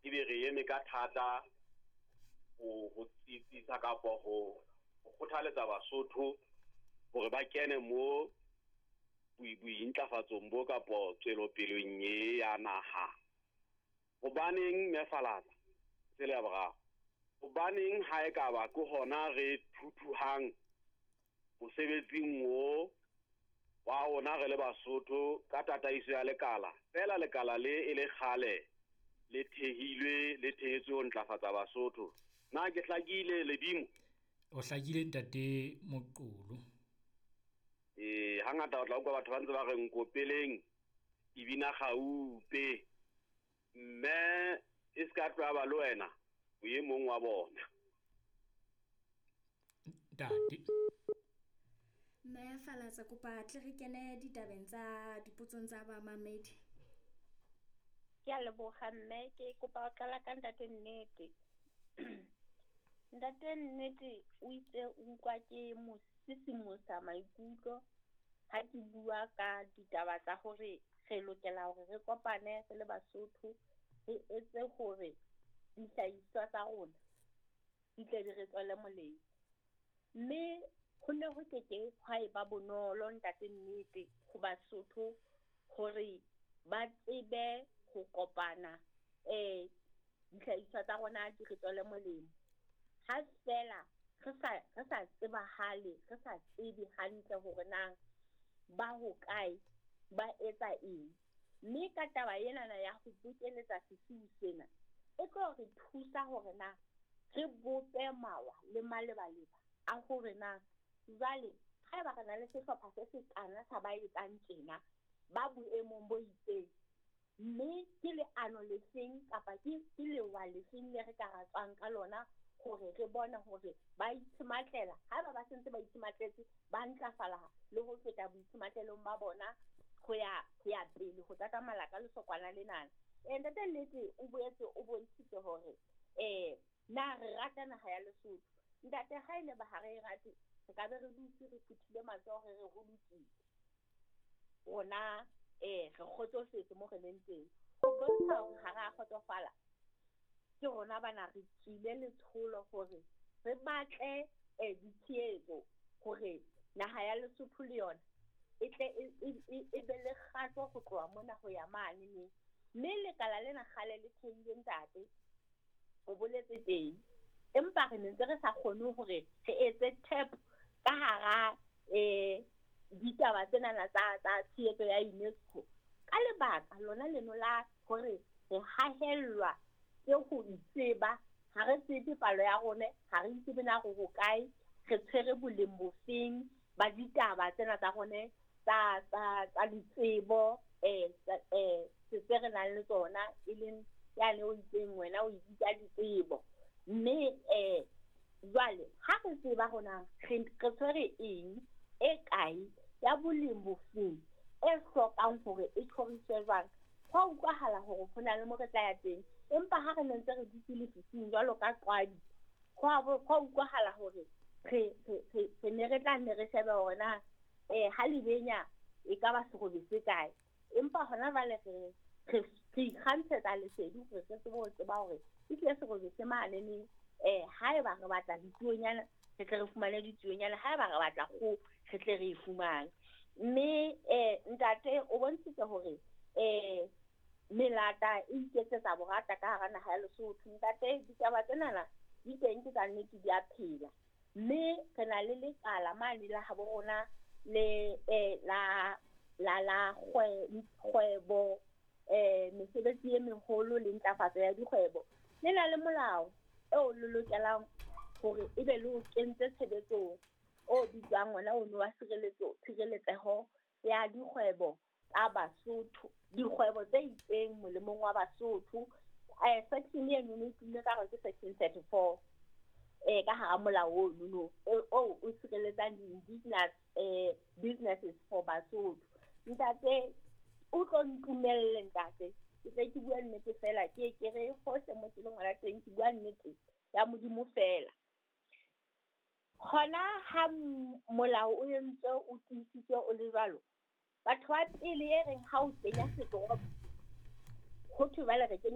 Ebe re eme ka thata ho tsitsisa kapa ho kgothaletsa Basotho hore ba kene mo bointlafatsong bo kapo tswelopeleng e ya naha. Hobaneng Mme Falatsa? Tsela ya boraro. Hobaneng ha ekaba ke hona re thuthuhang mosebetsing o wa rona re le Basotho ka tataiso ya lekala, feela lekala le e le kgale le thehilwe, le thehetswe ho ntlafatsa Basotho. Na ke hlakile Ledimo? O hlakile ntate Moqolo. Hangata o tla utlwa batho ba ntse ba re nkopeleng e bina gaupe, mme e ska tloha ba le wena o e mong wa bona. Ntate. Mme Falatsa, kopa tle re kene ditabeng tsa dipotsong tsa bamamedi. Ke a leboga mme, ke kopa ho qala ka ntate Nnete. Ntate Nnete o itse o utlwa ke mo sisimosa maikutlo ha ke bua ka ditaba tsa hore re lokela hore re kopane re le Basotho, re etse hore dihlahiswa tsa rona di tle di re tswele molemo. Mme ho ne ho keke hwa eba bonolo ntate Nnete ho Basotho hore ba tsebe ho kopana dihlahiswa tsa rona di re tswele molemo. Ha fela re sa tsebahale, re sa tsebe hantle hore na ba hokae, ba etsa eng. Mme ka taba enana ya ho bokeletsa sesiu sena, e tlo re thusa hore na re bope mawa le malebaleba a hore na jwale haeba re na le sehlopha se sekana sa ba etsang tjena, ba boemong bo itseng, mme ke leano lefeng kapa ke lewa lefeng le re ka ra tswang ka lona hore re bone hore ba itshematlela. Haeba ba sentse ba itshematletse, ba ntlafala le ho feta boitsematlelong ba bona ho ya pele ho tatamala ka lesokwana lenana. Ntate Nnete o boetse o bontshitse hore na re rata naha ya Lesotho. Ntate, ha ene ba ha re rate, re ka be re dutse re phuthile matsoho re re ho lokile. Rona re kgotsofetse mo re leng teng. Ho bontsha hore ha re a kgotsofala, ke rona bana re tswile letsholo hore re batle ditshehetso hore naha ya Lesotho le yona e tle e be le kgato ho tloha mona ho ya mane neng. Mme lekala lena kgale le thehilwe ntate, o boletse teng, empa re ne ntse re sa kgone hore re etse tap ka hara ditaba tsenana tsa tshehetso ya UNESCO. Ka lebaka lona leno la hore re hahellwa ke ho itseba, ha re tsebe palo ya rona, ha re itsebe na re hokae, re tshwere boleng bofeng ba ditaba tsena tsa rona tsa ditsebo tse re nang le tsona, e leng yane o itseng wena o bitsa ditsebo. Mme jwale ha re tseba rona re tshwere eng e kae ya boleng bofeng e hlokang hore e tjhoriswe jwang, ho utlwahala hore ho na le mo re tla ya teng. Empa ha re ne ntse re dutse lefifing jwalo ka qwadi, ho utlwahala hore re ne re tla nne re shebe hore na ha lebenya e ka ba serobe se kae. Empa hona jwale re ikgantshetsa lesedi hore re tsebe ho tseba hore ehlile serobe se mane neng. Haeba re batla ditsuonyana, re tle re fumane ditsuonyana, haeba re batla kgoho, re tle re e fumane. Mme ntate o bontshitse hore melata e iketsetsa borata ka hara naha ya Lesotho. Ntate, ditaba tsenana di teng, ke tsa nnete, di a phela. Mme re na le lekala mane la habo rona le la la kgwebo, mesebetsi e meholo le ntlafatso ya dikgwebo. Le na le molao eo le lokelang hore ebe le o kentse tshebetsong, o bitswang ona ono wa tshireletseho ya dikgwebo tsa Basotho, dikgwebo tse itseng molemong wa Basotho. Section eno e tumme ka hore ke section 34 ka hara molao ono o sireletsang di-indigenous businesses for Basotho. Ntate, o tlo ntumelle ntate, ke tle ke bua nnete fela, ke re hohle mo ke leng hona teng, ke bua nnete ya Modimo fela. Hona ha molao o entse o tiisitswe o le jwalo, batho ba pele e reng ha o kenya setoropo, ho thwe jwale re kenya